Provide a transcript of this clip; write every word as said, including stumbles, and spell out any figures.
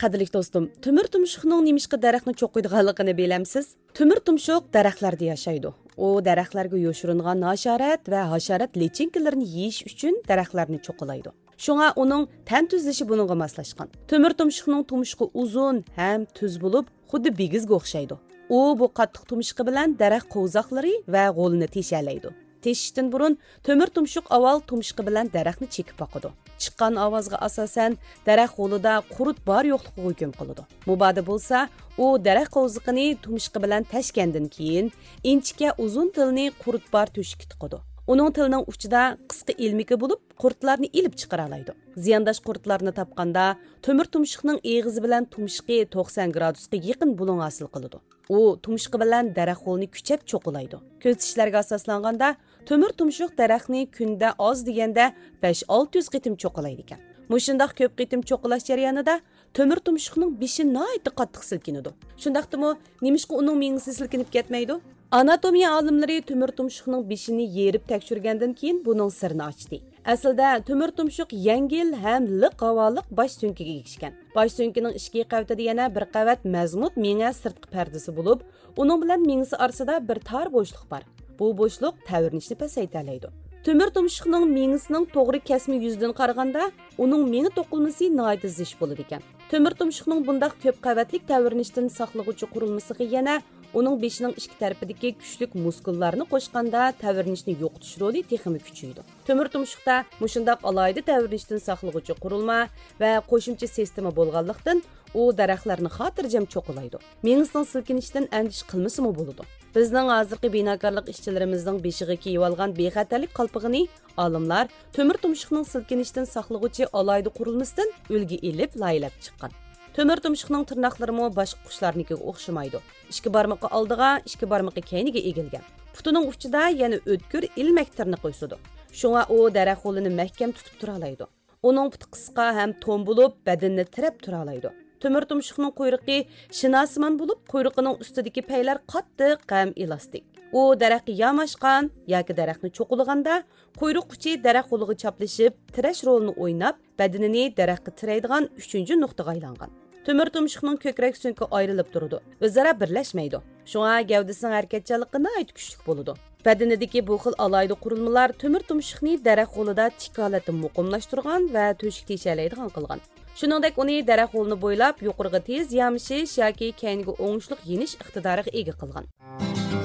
قەدىرلىك دوستۇم، تۆمۈر تۇمشۇقنىڭ نېمىشقا دەرەخنى چوقۇيدىغانلىقىنى بىلەمسىز؟ تۆمۈر تۇمشۇق دەرەخلەردە ياشايدۇ. ئۇ دەرەخلەرگە يوشۇرۇنغان ھاشارات ۋە ھاشارات لىچىنكىلىرىنى يېيىش ئۈچۈن دەرەخلەرنى چوقۇلايدۇ. شۇڭا ئۇنىڭ تەن تۈزۈلۈشى بۇنىڭغا ماسلاشقان. تۆمۈر تۇمشۇقنىڭ تۇمشۇقى ئۇزۇن ھەم تۈز بولۇپ، خۇددى بىگىزگە ئوخشايدۇ. ئۇ بۇ قاتتىق تۇمشۇقى بىلەن دەرەخ قوۋزاقلىرى ۋە غولىنى تېشەلەيدۇ. تېشىشتىن بۇرۇن تۆمۈر تۇمشۇق ئاۋۋال تۇمشۇقى بىلەن دەرەخنى چېكىپ باقىدۇ. چىققان ئاۋازغا ئاساسەن، دەرەخ غولىدا قۇرت بار يوقلۇقىغا ھۆكۈم قىلىدۇ. مۇبادا بولسا، ئۇ دەرەخ قوۋزىقىنى تۇمشۇقى بىلەن تەشكەندىن كېيىن، ئىنچىكە ئۇزۇن تىلىنى قۇرت بار تۆشۈككە تىقىدۇ. ئۇنىڭ تىلىنىڭ ئۇچىدا قىسقا ئىلمىكى بولۇپ، قۇرتلارنى ئېلىپ چىقىرالايدۇ. زىيانداش قۇرتلارنى تاپقاندا، تۆمۈر تۇمشۇقنىڭ ئېغىزى بىلەن تۇمشۇقى توقسان گرادۇسقا يېقىن بۇلۇڭ ھاسىل قىلىدۇ. ئۇ تۇمشۇقى بىلەن دەرەخ غولىنى كۈچەپ چوقۇلايدۇ. كۆزىتىشلەرگە ئاساسلانغاندا، تۆمۈر تۇمشۇق دەرەخنى كۈندە ئاز دېگەندە بەش ئالتە يۈز قېتىم چوقۇلايدىكەن. مۇشۇنداق كۆپ قېتىم چوقۇلاش جەريانىدا تۆمۈر تۇمشۇقنىڭ بېشى ناھايىتى قاتتىق سىلكىنىدۇ. شۇنداقتىمۇ، نېمىشقا ئۇنىڭ مېڭىسى سىلكىنىپ كەتمەيدۇ؟ ئاناتومىيە ئالىملىرى تۆمۈر تۇمشۇقنىڭ بېشىنى يېرىپ تەكشۈرگەندىن كېيىن بۇنىڭ سىرىنى ئاچتى. ئەسلىدە تۆمۈر تۇمشۇق يەڭگىل ھەم لىق ھاۋالىق باش سۆڭىكىگە ئىگە ئىكەن. باش سۆڭىكىنىڭ ئىچكى قەۋىتىدە يەنە بىر قەۋەت مەزمۇت مېڭە سىرتقى پەردىسى بولۇپ، ئۇنىڭ بىلەن مېڭىسى ئارىسىدا بىر تار بوشلۇق بار. بۇ بوشلۇق تەۋرىنىشنى پەسەيتەلەيدۇ. تۆمۈر تۇمشۇقنىڭ مېڭىسىنىڭ توغرا كەسمە يۈزىدىن قارىغاندا، ئۇنىڭ مېڭە توقۇلمىسى ناھايىتى زىچ بولىدىكەن. تۆمۈر تۇمشۇقنىڭ بۇنداق كۆپ قەۋەتلىك تەۋرىنىشتىن ساقلىغۇچى قۇرۇلمىسىغا يەنە ئۇنىڭ بېشىنىڭ ئىككى تەرىپىدىكى كۈچلۈك مۇسكۇللارنى قوشقاندا، تەۋرىنىشنى يوقىتىش رولى تېخىمۇ كۈچىيىدۇ. تۆمۈر تۇمشۇقتا مۇشۇنداق ئالاھىدە تەۋرىنىشتىن ساقلىغۇچى قۇرۇلما ۋە قوشۇمچە سىستېما بولغانلىقتىن، ئۇ دەرەخلەرنى خاتىرجەم چوقۇلايدۇ. مېڭىسىنىڭ سىلكىنىشىدىن ئەندىشە قىلمىسىمۇ بولىدۇ. بىزنىڭ ھازىرقى بىناكارلىق ئىشچىلىرىمىزنىڭ بېشىغا كىيىۋالغان بىخەتەرلىك قالپىقىنى ئالىملار تۆمۈر تۇمشۇقنىڭ سىلكىنىشتىن ساقلىغۇچى ئالاھىدە قۇرۇلمىسىدىن ئۈلگە ئېلىپ لايىھەلەپ چىققان. تۆمۈر تۇمشۇقنىڭ تىرناقلىرىمۇ باشقا قۇشلارنىڭكىگە ئوخشىمايدۇ. ئىككى بارمىقى ئالدىغا، ئىككى بارمىقى كەينىگە ئېگىلگەن. پۇتىنىڭ ئۇچىدا يەنە ئۆتكۈر ئىلمەك تىرنىقى ئۆسىدۇ. شۇڭا ئۇ دەرەخ غولىنى مەھكەم تۇتۇپ تۇرالايدۇ. ئۇنىڭ پۇتى قىسقا ھەم توم بولۇپ، بەدىنىنى تىرەپ تۇرالايدۇ. تۆمۈر تۇمشۇقنىڭ قۇيرۇقى شىناسىمان بولۇپ، قۇيرۇقىنىڭ ئۈستىدىكى پەيلەر قاتتىق ھەم ئېلاستىك. ئۇ دەرەخكە ياماشقان ياكى دەرەخنى چوقۇلىغاندا، قۇيرۇق ئۇچى دەرەخ غولىغا چاپلىشىپ، تىرەش رولىنى ئويناپ، بەدىنىنى دەرەخكە تىرەيدىغان ئۈچىنچى نۇقتىغا ئايلانغان. تۆمۈر تۇمشۇقنىڭ كۆكرەك سۆڭىكى ئايرىلىپ تۇرىدۇ، ئۆزئارا بىرلەشمەيدۇ. شۇڭا گەۋدىسىنىڭ ھەرىكەتچانلىقى ناھايىتى كۈچلۈك بولىدۇ. بەدىنىدىكى بۇ خىل ئالاھىدە قۇرۇلمىلار تۆمۈر تۇمشۇقنى دەرەخ غولىدا تىك ھالەتتە مۇقىملاشتۇرغان ۋە تۆشۈك تېشەلەيدىغان قىلغان. شۇنىڭدەك ئۇنى دەرەخ غولىنى بويلاپ يۇقىرىغا تېز يامىشىش ياكى كەينىگە ئوڭۇشلۇق يېنىش ئىقتىدارىغا ئىگە قىلغان.